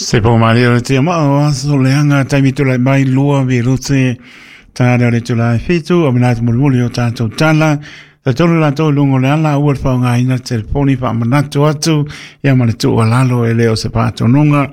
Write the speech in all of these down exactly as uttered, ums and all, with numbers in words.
Se po mari o te ma o aso le anga taimi tula mai lua vi rute ta le le tula fitu o mina mulmuli o tātou tala ta tolu la tolu lungo le ala ua fa ngā ina telefoni fa manatu atu ia ma le tua lalo e le o se pātonunga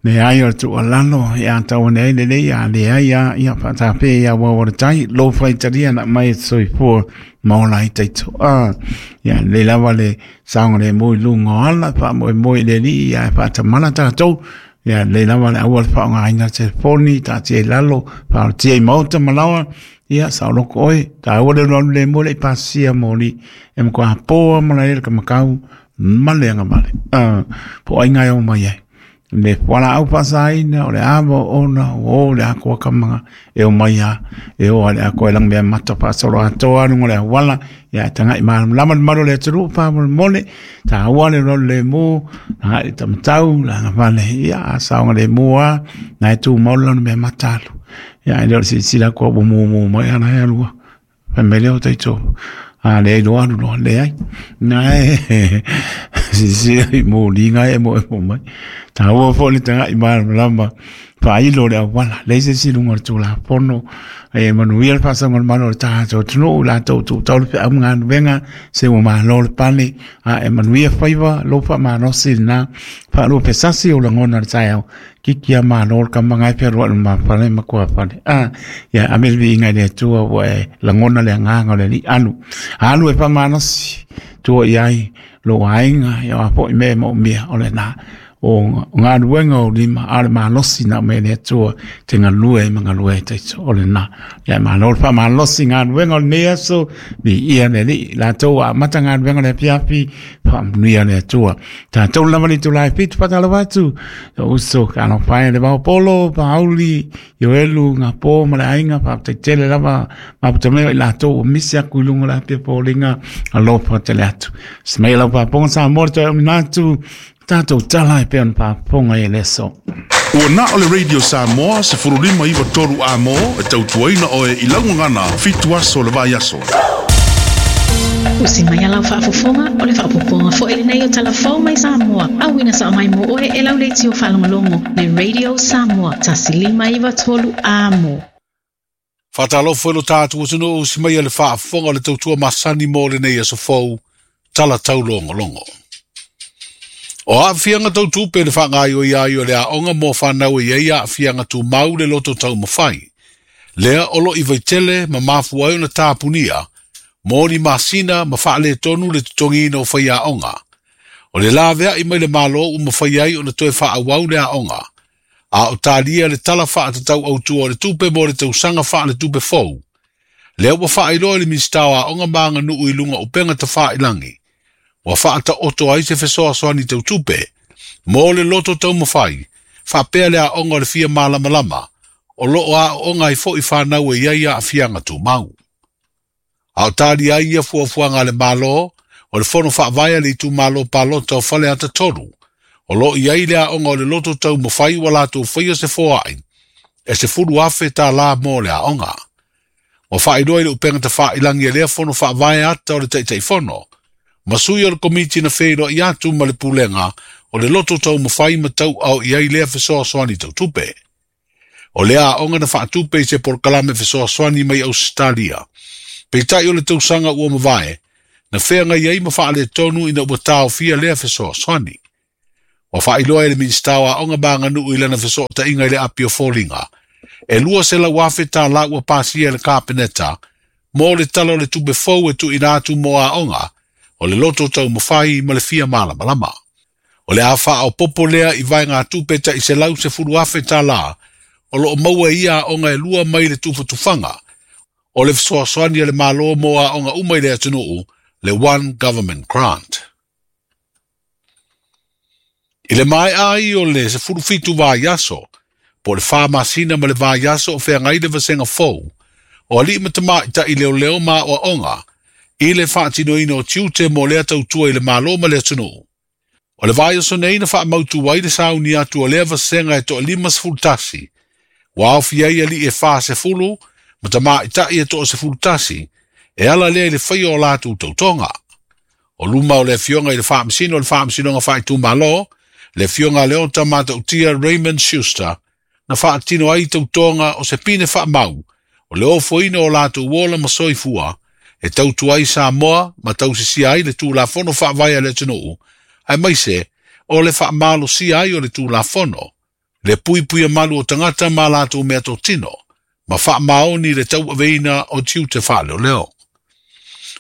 le ai o tua lalo ia tau nei le le ia le ai ia ia fa ta pe ia wa o tai lo fa italia na mai soifua maola i taito a ia le lava le saonga le moi lungo ala fa moi moi le li ia fa ta mana tātou ia le lava le aua fa ngā ina telefoni ta te lalo fa te mauta malawa ia sa loko oi ta aua le le le mo le pasia moli e mo ka poa mala ele ka makau male anga male a po ai ngai o mai ai le wala au pasaina o le amo ona o le akoa kamanga e o mai a e o ale akoa lang mea mata pasolo atoa nungo le wala ia tanga i malam lama malo le turu pa mo mole ta aua le le mo na i tamatau la ngavale ia sa le moa na tu mola no mea matalu ia ile o sila ko mo mo mo ana e alua fa mele o taito a le lo alu lo le ai na e si si mo linga e mo mo mai ta ua fo le tanga i malam fa ilo le wala le se si lungo tu la pono e manuia le pasa ngol malo ta to tnu la to tu tau pe am ngan venga se o ma lo le pane a e manuia faiva lo fa ma no sina fa lo pe sasi o la ngona ta ki kia ma lo ka manga pe ro ma fa ma ko fa a ya amel vi ngai le tu o e la ngona le nga le li alu alu e fa ma no si tu i ai lo ainga ya po i me mo mia o le na o ngā ruenga o lima a le malosi na me le atua te ngā lue ma ngā lue te o le na ia malo pa malosi ngā ruenga o le aso vi ia le li la toa mata ngā ruenga le piapi pa mnuia le atua ta tau lava li tula e pitu patala watu o uso ka no pae le vao polo pa auli yo elu ngā pō ma le ainga pa te tele lava ma puta mea i la toa misi aku ilunga la pia pōlinga alofa te le atu smei lau pa ponga sa morto e ominatu tātou tala e peon pa ponga e leso. Ua na o le Radio Samoa se furulima iwa toru a mo e tautuaina oe i laungana fitu aso le vai aso. O si mai alau whaafofonga o le whaapoponga fo ele nei o talafou mai Samoa. Au ina sa mai mo oe e lau le tio whaalongolongo le Radio Samoa tasilima iwa tolu a mo. Whaatalofo e lo tātu o tunu o si mai le whaafofonga le tautua masani mo le nei aso fou tala taulongolongo. O a whianga tau tupe le whangai o ia o le a onga mō whanau e ia a whianga tū mau le loto tau mawhai. Lea olo i vaitele ma mafu ai ona tāpunia, mō ni masina ma whaale tonu le tutongina o whai a onga. O le lawea i mai le malo u mawhai ai ona toe whaawau le a onga. A o tālia le tala whaatatau autua o le tupe mō le tausanga wha le tupe fou. Lea ua whaailoa le minstao a onga maanga nuu i lunga upenga ta whaailangi. Wa whaata oto ai se fesoa soani tau tupe, mō le loto tau mawhai, whapea le a onga le fia malamalama, o loo a onga i fo i whanau e iaia a fianga tū mau. A o tāri ai ia fuafuanga le malo, o le fono whaavaia le itu malo palota o whale ata toru, o loo i ai le a onga o le loto tau mawhai wa lātou whaia se foai, e se furu afe tā la mō le a onga. Wa whaailoa i le upengata whaailangi e lea fono whaavaia ata o le taitai fono, Masui o le komiti na whairo i atu ma le pulenga o le loto tau mawhai ma tau au i ai lea fesoa soani tau tupe. O lea a onga na whaatupe i se porkalame fesoa soani mai Australia. Peitai o le tausanga ua mawae, na whea ngai ai ma whaale tonu ina ua tau fia lea fesoa soani. Wa whaailoa e le minstao a onga maanga nuu i lana fesoa ta inga i le api o fōlinga. E lua se lau afe tā la ua pasia le kāpeneta, mō le tala o le tupe fou e tu ina atu mō a onga, o le loto tau mawhai ma le fia malamalama. O le awha o popo lea i vai ngā tupe ta i se lau se furu afe tā la, o lo o maua ia onga e lua mai le tufatuwhanga, o le fesoasoani a le malo mō a onga umai le atunuu, le One Government Grant. I le mai ai o le se furu fitu vā iaso, po le wha masina ma le vā iaso o whea ngai le vasenga fou, o ali matama i ta i leo leo ma o onga, i le whaatinoina o tiute mō lea tautua i le malo ma le atunuu. O le vai o sonei na whaamautu ai le sauni atu o lea vasenga e toa lima sefulu tasi. Wa au fiai ali e wha sefulu, ma tama i tai e toa sefulu tasi, e ala lea i le whai o lātou tautonga. O luma o le fionga i le whaamsino o le whaamsinonga whaitū malo, Le fionga leo tamatautia Raymond Schuster, na whaatino ai tautonga o se pine whaamau, o le ofoina o lātou wola ma soifua, e tautu ai Samoa ma tausisia ai le tūlafono whaavaia le atunuu, ai maise o le whaamalosia ai o le tūlafono, le puipui malu o tangata ma lātou mea totino, ma whaamaoni le tauaveina o tiute whaaleo leo.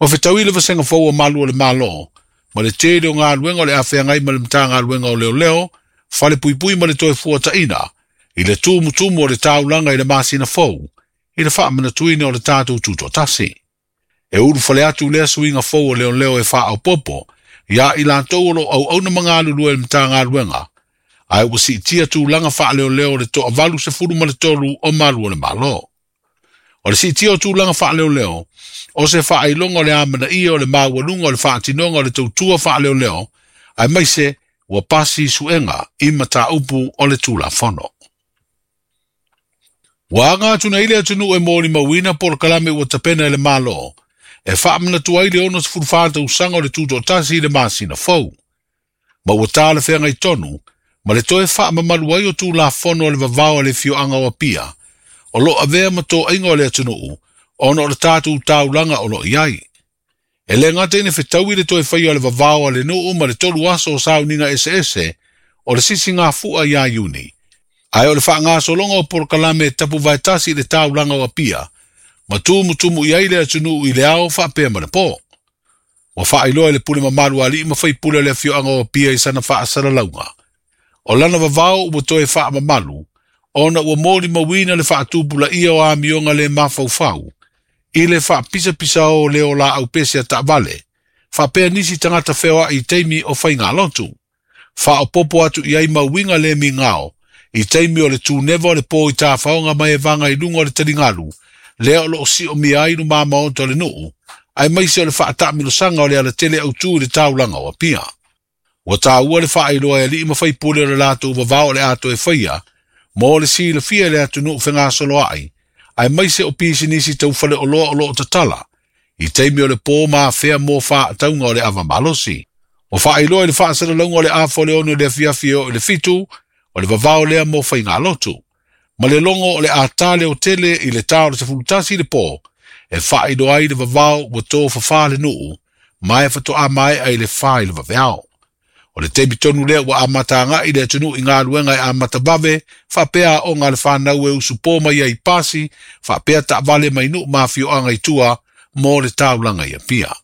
O whetau i le vasenga fau o malu o le malo, ma le tele o ngā luenga o le awhea ma le mta ngā luenga o leo leo, whale puipui ma le toe fua taina, i le tūmutumu o le taulanga i le masina fau, i le whaamanatuina o le tātou tūtoatasi. E uru whale atu lea suinga fau o leo leo e wha popo, ia i lātou o lo au auna mangalu lua le mta ngā luenga, ai ua si tia tūlanga wha leo leo le toa valu se furu ma le tolu o malu o le malo. O le si tia o tūlanga wha leo leo, o se wha ailonga o le amana ia o le maualunga o le whaatinonga o le tautua wha leo leo, ai maise ua pasi suenga i mataupu o le tūlafono. Ua anga atuna ile atunu e mōli mauina por kalame ua tapena e le malo, e whaamana tuai le ono sefulu tausaga o le tūtoatasi i le masina fou. Ma ua tā le whenga i tonu, ma le toe whaamamalu ai o tūlafono o le vavao a le fioanga o Apia, o lo avea ma tō ainga o le atunuu, ona o le tātou taulanga o lo iai. E le ngata ine whetau i le toe whai o le vavao a le nuu ma le tolu aso o sauninga ese ese, o le sisi ngā fua ia Iuni. Ai o le whaangasolonga o porokalame tapu vaetasi i le taulanga o Apia, ma tumutumu i ai le atunuu i le ao whaapea ma le pō. Wa whaailoa i le pule mamalu ali ma whai pule le fioanga o Apia i sana whaasalalauga. O lana vavao ua toe whaamamalu, ona ua mōli mawina le whaatupula ia o amionga le mafaufau, i le whaapisapisa o leo la au pese a taavale, whaapea nisi tangata wheoa i teimi o whainga lotu. Whaopopo atu i ai mawinga le mingao, i teimi o le tūnewa o le pō i tāwhaonga mai e vanga i lunga o le taringalu, lea o loo si o mia ai nu mamaonto o le nuu, ai maise o le whaatamilosanga o le alatele au tū i le taulanga o Apia. Ua tāua le whaailoa e alii mawhai pule o le lātou vavao le ato e whaia, mō le si le fia le atu nuu whengasolo ai, ai maise o pisinisi tau whale o loa o loo tatala, i teimi o le pō mā whea mō whaataunga o le awa malosi. O whaailoa i le whaasalalauga o le awha o le ono le afiafi o le fitu, o le vavao lea mō whainga lotu. Ma le longo o le ātale o tele i le tā o le sefulutasi i le pō, e whaailoa ai le vavao ua tō whawha le nuu, mai whatoa mai ai le wha i le vaveao. O le teimi tonu lea ua amatanga i le atunu i ngā luenga e amatabave, whapea o ngā le whānau e usupo mai ai pasi, whapea taavale mai nuu mawhioanga i tua, mō le taulanga i Apia.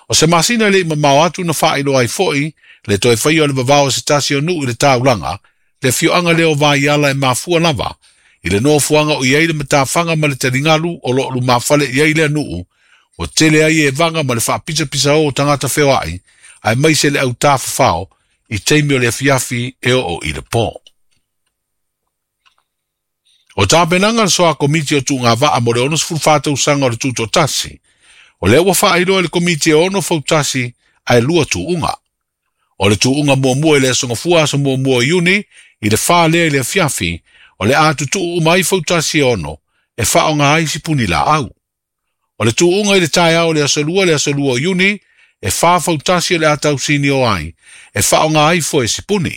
O se masina le i mamao atu na whaailoa ai foi, le toe whai o le vavao se tasi o nuu i le taulanga, le fioanga leo vaiala e mafua lava, i le nofoanga o iai le matawhanga ma le taringalu o lo lu mawhale iai le nuu, o tele ai e vanga ma le whaapisapisa o tangata wheoai, ai maise le au tāwhawhao i teimi o le afiafi e o i le pō. O tāpenanga le soa komiti o tū ngā vaa mo le ono sefulu whā tausaga o le tūtoatasi, o le ua whaailoa le komiti e ono fautasi ai lua tūunga. O le tūunga muamua i le asonga fua aso muamua Iuni, i le whā lea i le afiafi, o le ātutuu mai fautasi e ono, e whaonga ai sipuni la au. O le tūunga i le taeao le asolua le asolua o Iuni, e whā fautasi o le atausini o ai, e whaonga ai fo e sipuni.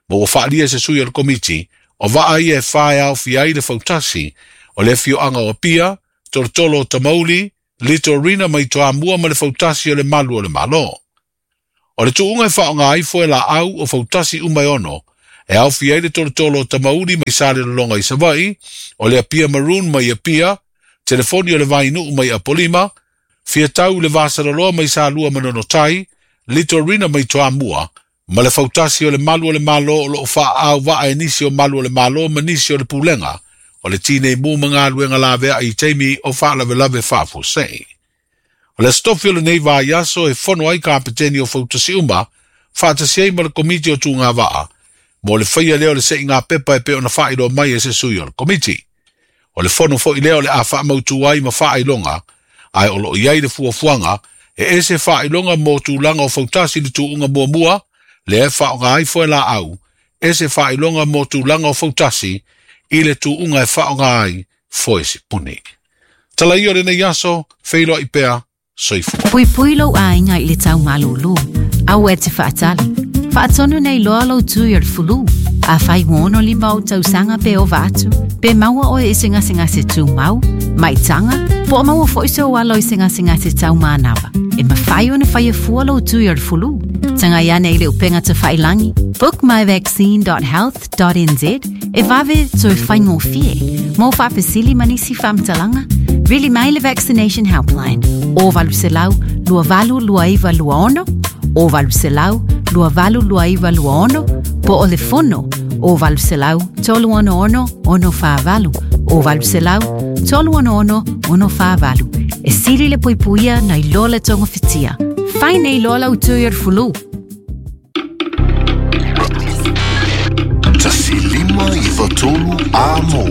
Mo ua whaalia se sui o le komiti, o waa ia e whae au fi ai le fautasi, o le fioanga o Apia, Tolotolo o Tamauli, Litorina mai toa mua ma le fautasi o le malu o le malo. O le tuunga e whaonga ai fo e la au o fautasi umai ono, e au fi ai le Tolotolo o Tamauli mai sale lolonga i Savai, o le Apia Maroon mai Apia, telefoni o le Vainuu mai Apolima, Fiatau le Vasaloloa mai Salua manono tai, Litorina mai Toamua, ma le fautasi o le malu o le malo o loo wha au waa e nisi o malu o le malo ma nisi o le pulenga, o le tine mu mga luenga la vea i teimi o whaalawelawe whaafosei. O le stofi o le nei vaiaso e fono ai ka apeteni o fautasi uma, whaatasi ai ma le komiti o tū ngā waa, mo le whaia leo le se i ngā pepa e pe ona whaailoa mai e se sui o le komiti. O le fono fo i leo le a whaamautu ai ma whaailonga, ai o lo iai le fuafuanga, e ese whaailonga mō tūlanga o fautasi le tūunga muamua, le e whaonga ai foe la au, ese whaailonga mō tūlanga o fautasi, i le tūunga e whaonga ai foe sipuni. Tala ia o le nei aso, wheiloa i pea, soifua. Pui pui lou aiga i le tau malūlū, au e te whaatali. Faatonu nei loa lou tui o le fulu. A fai uono lima o tausaga pe ova atu, pe maua oe i se gasegase tumau, maitaga, po o maua fo'i sou alo i se gasegase taumanava. E mafai ona faia fua lou tui o le fulu. Tagai ane i le upega tafailagi, book my vaccine dot health dot n z e vave toe faigofie. Mo faafesili ma nisi faamatalaga, vili mai le Vaccination Helpline o valu selau lua valu lua iva lua ono, o valu selau lua valu lua iva lua ono, po o le fono o valu selau tolu ono ono ono whaavalu, o valu selau tolu ono ono ono whaavalu. E sili le puipuia nai loa le tonga fitia. Fai nei loa lau tui o le fulu. Tasi lima i fatolu a mo.